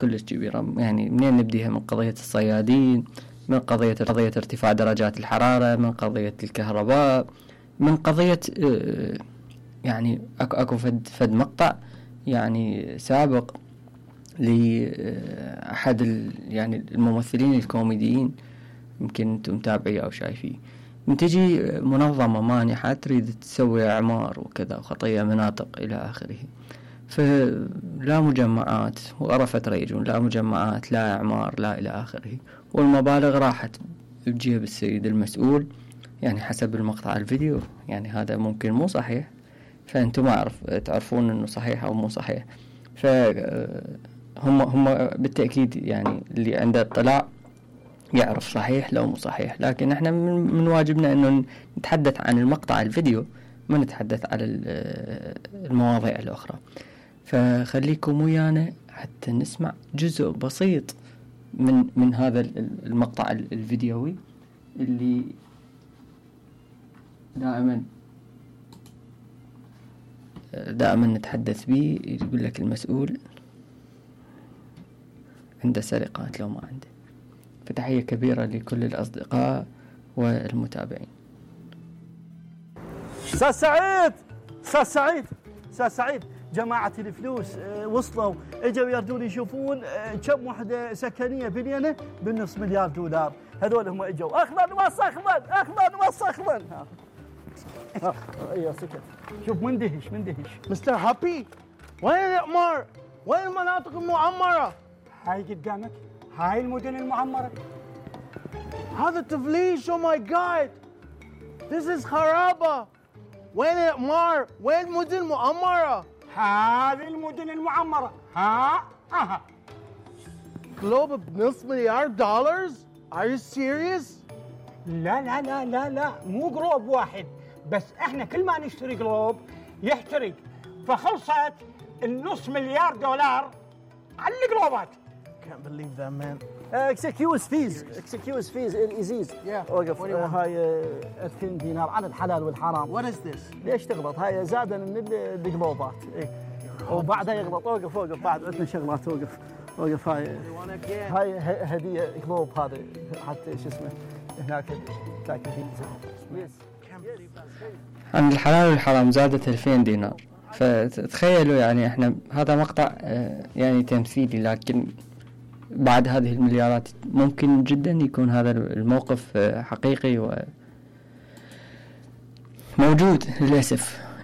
كلش كبيرة. يعني منين نبديها؟ من قضية الصيادين، من قضية ارتفاع درجات الحرارة، من قضية الكهرباء، من قضية يعني اكو فد مقطع يعني سابق لأحد يعني الممثلين الكوميديين، يمكن انتم متابعيه او شايفيه، من تجي منظمة مانحة تريد تسوي اعمار وكذا وخطية مناطق الى اخره، فلا مجمعات وقرفت ريجون، لا مجمعات، لا اعمار، لا الى اخره، والمبالغ راحت بجيب السيد المسؤول. يعني حسب المقطع الفيديو يعني هذا ممكن مو صحيح، فانتم ما تعرفون انه صحيح او مو صحيح. هم بالتأكيد يعني اللي عنده اطلاع يعرف صحيح لو مو صحيح، لكن احنا من واجبنا انه نتحدث عن المقطع الفيديو، ما نتحدث على المواضيع الاخرى. فخليكم ويانا حتى نسمع جزء بسيط من هذا المقطع الفيديوي اللي دائما نتحدث به. يقول لك المسؤول عنده سرقات لو ما عنده. فتحية كبيرة لكل الأصدقاء والمتابعين. أستاذ سعيد جماعة الفلوس وصلوا، اجوا يردون يشوفون كم وحدة سكنية بنينة بالنص مليار دولار. هذول هم اجوا اخضر وسخضر. ايوه سكت. شوف مندهش. مستر هابي، وين الأعمار؟ وين المناطق المعمرة؟ هاي قدامك، هاي المدن المعمرة. هذا تفليش. او ماي جاد، This is خرابة. وين الأعمار؟ وين المدن المعمرة؟ هذه المدن المعمرة. جلوب بنص مليار دولار؟ Are you serious؟ لا مو جلوب واحد بس، احنا كل ما نشتري جلوب يحترق، فخلصت النص مليار دولار على الجلوبات. Can't believe that man. Excuse fees الإزيز. وقف. هاي 2000 دينار على الحلال والحرام. What is this؟ ليش تغلط؟ هاي زادا من الجلوبات. وبعدها يغلط. وقف بعد عندنا شغلات. وقف. هاي هدية جلوب، هذا حتى شو اسمه هناك تاكل فيه. عن الحلال والحرام زادت 2000 دينار. فتخيلوا يعني احنا هذا مقطع يعني تمثيلي، لكن بعد هذه المليارات ممكن جدا يكون هذا الموقف حقيقي وموجود.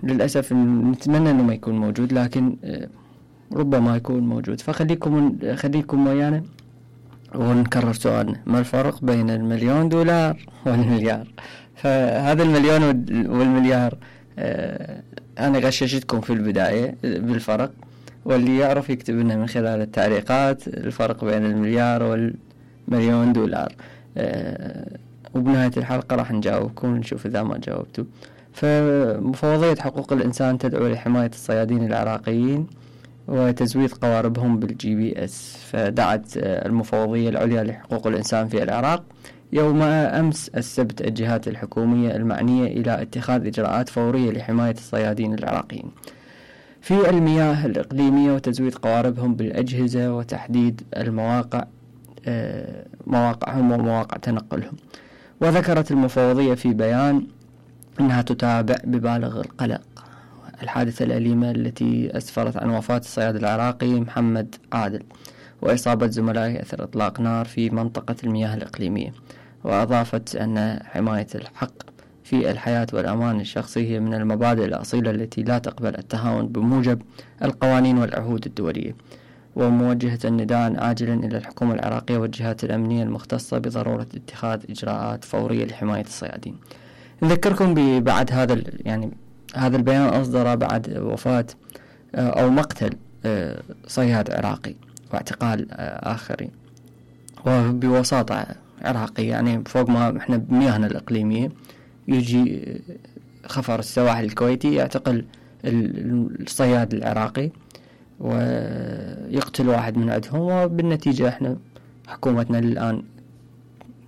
للأسف نتمنى انه ما يكون موجود، لكن ربما يكون موجود. خليكم ويانا ونكرر سؤالنا: ما الفرق بين $1,000,000 والمليار؟ فهذا المليون والمليار أنا غششتكم في البداية بالفرق، واللي يعرف يكتب لنا من خلال التعليقات الفرق بين $1,000,000 $1,000,000. وبنهاية الحلقة راح نجاوبكم ونشوف إذا ما جاوبتوا. فمفوضية حقوق الإنسان تدعو لحماية الصيادين العراقيين وتزويد قواربهم بالGPS. فدعت المفوضية العليا لحقوق الإنسان في العراق يوم أمس السبت الجهات الحكومية المعنية إلى اتخاذ إجراءات فورية لحماية الصيادين العراقيين في المياه الإقليمية وتزويد قواربهم بالأجهزة وتحديد مواقعهم ومواقع تنقلهم. وذكرت المفوضية في بيان أنها تتابع ببالغ القلق الحادثة الأليمة التي أسفرت عن وفاة الصياد العراقي محمد عادل وإصابة زملائه أثر إطلاق نار في منطقة المياه الإقليمية. وأضافت أن حماية الحق في الحياة والأمان الشخصي هي من المبادئ الأصيلة التي لا تقبل التهاون بموجب القوانين والعهود الدولية، وموجهة النداء عاجلا إلى الحكومة العراقية والجهات الأمنية المختصة بضرورة اتخاذ إجراءات فورية لحماية الصيادين. نذكركم بعد هذا البيان أصدر بعد وفاة أو مقتل صياد عراقي واعتقال آخرين، وبوساطة عراقي يعني فوق ما احنا بمياهنا الإقليمية يجي خفر السواحل الكويتي يعتقل الصياد العراقي ويقتل واحد من عندهم، وبالنتيجة احنا حكومتنا الآن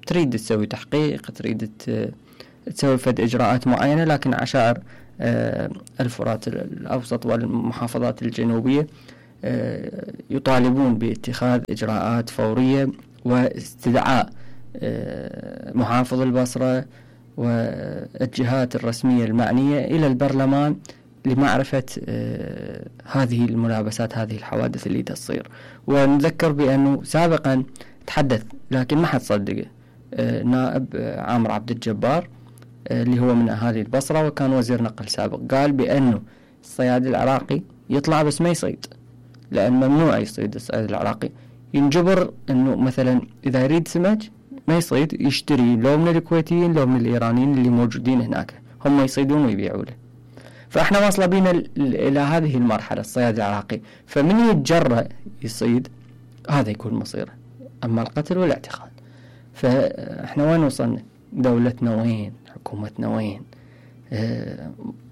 تريد تسوي تحقيق، تريد تسوي فد إجراءات معينة، لكن عشائر الفرات الأوسط والمحافظات الجنوبية يطالبون باتخاذ إجراءات فورية واستدعاء محافظ البصرة والجهات الرسمية المعنية إلى البرلمان لمعرفة هذه الملابسات، هذه الحوادث اللي تصير. ونذكر بأنه سابقا تحدث لكن ما حد صدقه نائب عامر عبد الجبار اللي هو من أهالي البصرة وكان وزير نقل سابق، قال بأنه الصياد العراقي يطلع بس ما يصيد، لأن ممنوع يصيد الصيد العراقي، ينجبر أنه مثلا إذا يريد سمك ما يصيد، يشتري لو من الكويتيين لو من الإيرانيين اللي موجودين هناك، هم يصيدون ويبيعوا له. فإحنا واصلة بينا إلى هذه المرحلة الصياد العراقي، فمن يتجرأ يصيد هذا يكون مصيره، أما القتل والاعتقال. فإحنا وين وصلنا؟ دولتنا وين؟ حكومتنا وين؟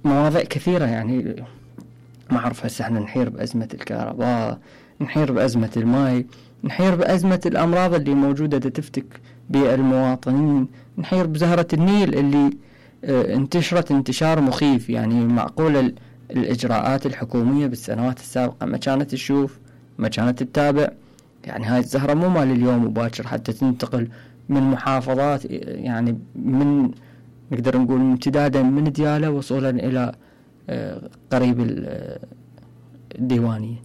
مواضيع كثيرة يعني ما أعرف. هسه احنا نحير بأزمة الكهرباء، نحير بأزمة الماء، نحير بأزمة الأمراض اللي موجودة تفتك بالمواطنين، نحير بزهرة النيل اللي انتشرت انتشار مخيف. يعني معقولة الإجراءات الحكومية بالسنوات السابقة ما كانت تشوف، ما كانت تتابع؟ يعني هاي الزهرة مو مال اليوم وباكر حتى تنتقل من محافظات، يعني من نقدر نقول امتدادا من ديالى وصولا إلى قريب الديوانية.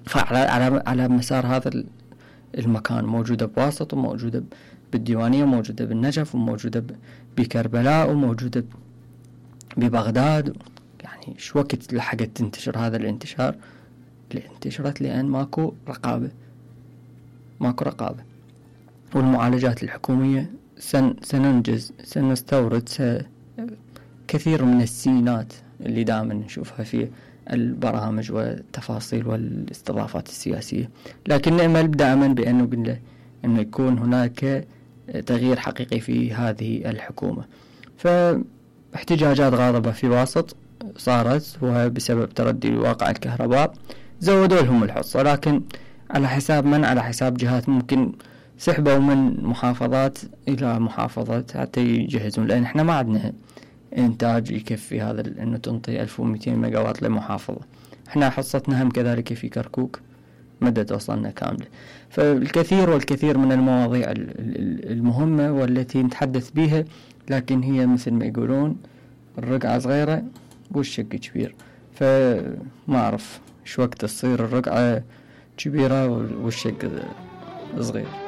فعلى مسار هذا المكان موجودة بواسط، وموجودة بالديوانية، وموجودة بالنجف، وموجودة بكربلاء، وموجودة ببغداد. يعني شو وقت لحقت تنتشر هذا الانتشار؟ انتشرت لأن ماكو رقابة، ماكو رقابة. والمعالجات الحكومية سننجز، سنستورد كثير من السينات اللي دائما نشوفها في البرامج والتفاصيل والاستضافات السياسية، لكن نأمل دائما بأنه يكون هناك تغيير حقيقي في هذه الحكومة. فاحتجاجات غاضبة في واسط صارت، وبسبب تردي واقع الكهرباء زودوا لهم الحصة، لكن على حساب من؟ على حساب جهات ممكن سحبوا من محافظات إلى محافظات حتى يجهزون، لأن احنا ما عندنا إنتاج يكفي هذا إنه تنطي 1200 ميجاوات لمحافظة. احنا حصتنا هم كذلك في كركوك مدى توصلنا كاملة. فالكثير والكثير من المواضيع المهمة والتي نتحدث بها، لكن هي مثل ما يقولون الرقعة صغيرة والشق كبير. فما أعرف شو وقت تصير الرقعة كبيرة والشق صغير.